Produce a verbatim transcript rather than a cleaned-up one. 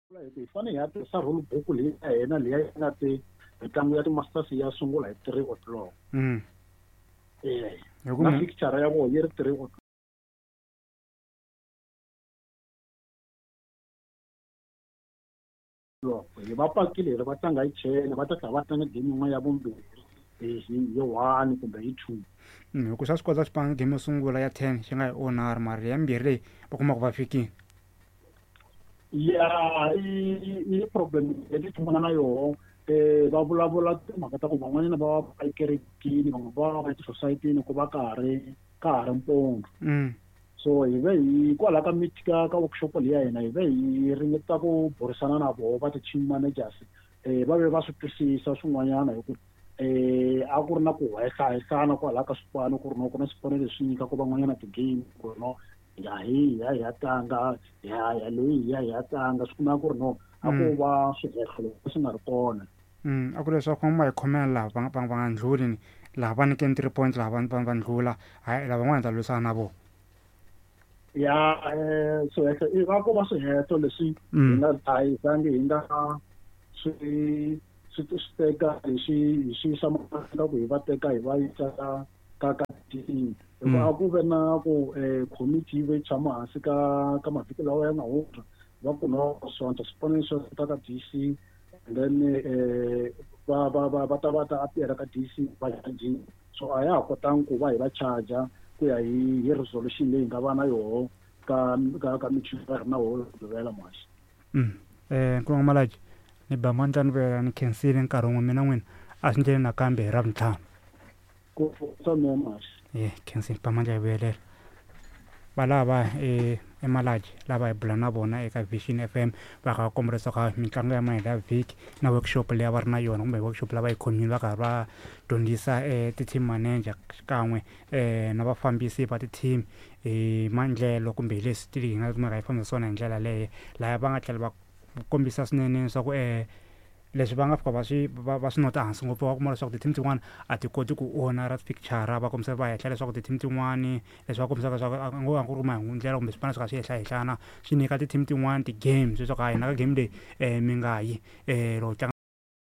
Hi fanele hi ya tirhisa rule book leyi ya hina leyi yi nga te mitlangu ya ti-masters ya sungula hi three o'clock. Mm. Eh, Hi ku na mi- fixture ya vona yi ri three o'clock. Hi va pakile hi ri va tlanga hi ten va ta tlhela va tlanga game yin'wana ya vumbirhi hi hi hi one kumbe hi two. Mm, hi ku swa swi kota xipano game yo sungula ya ten xi nga yi onari mara ya mbirhi leyi va kuma ku va fikile. Ya i i problem leyi tshungana na yoho eh va vulavula timhaka ta ku van'wanyana va va ekerekeni van'we va va etisosayitini ku va ka ha ri ka ha ri mpundzu. Mm. So hi ve hi kwalaho ka meet ka ka workshop leyi ya hina hi ve hi ringeta ku burisana na voho va ti-team managers eh va ve va swi twisisa swin'wanyana hi ku eh a ku ri na ku hehlahehlana kwalaho ka swipano ku ri no ku na swipano leswi nyikaka van'wanyana ti-game ku ri no ya hi ya hi ya tlanga ya ya leyi ya hi ya tlanga swi kumeka ku ri no a ku Mm. va swihehlo leswi nga ri kona. Mm, a ku leswaku va hi khomela laha va va va nga ndlhuli ni laha va nyikeni three points laha va va va ndlhula hayi lavan'wana hi ta lwisana na vona. Ya eh swihehlo i va ko va swihehlo leswi hi Mm. nga a hi zangi hi nga swi swi swi teka hi swi hi swi yisa mahlweni ka ku hi va teka hi va yisa ka ka ka team hikuva Mm. a ku ve na ku eh committee yi ve yi tshama hansi ka ka mavhiki lawa ya nga hundza va ku no swona swipano swa ta ka D C and then eh va va va va ta va ta appear ka D C va charge so a ya ha kotangi ku va hi va charger ku ya hi hi resolution leyi hi nga va na yoho ka ka ka meeting va ri na woho Mugqivela mhasi. Mm. Eh Nkulungu Malaji ni ba mandla ni vuyela ni khensile nkarhi wun'we mina n'wina a swi ndleni nakambe hi Ravuntlhanu. Ku sa mehe mhasi. Eh khensile ba mandla hi vuyelela. Valava e eMalaji lava hi bula na vona eka Vision F M va kha va komba leswaku mitlangu ya mahelo ya vhiki na workshop leyi a va ri na yona kumbe workshop lava yi khomile va karhi va dyondzisa eh ti-team manager xikan'we eh na vafambisi va ti-team hi maendlelo kumbe hi leswi ti hi nga kumeka hi fambisa swona hi ndlela leyo laha va nga tlhela va kombisa swinene leswaku eh leswi va nga fika va swi va va swi nota hansi ngopfu va kuma leswaku ti-team tin'wana a ti koti ku onara fixture va kombisa va hehla leswaku ti-team tin'wani leswi va kombisaka leswaku a ngo a ku ri mahundlela kumbe swipano swi kha swi hehlahehlana swi nyika ti-team tin'wani ti-games leswaku hayi hina ka game leyi eh mi nga yi eh loko tlanga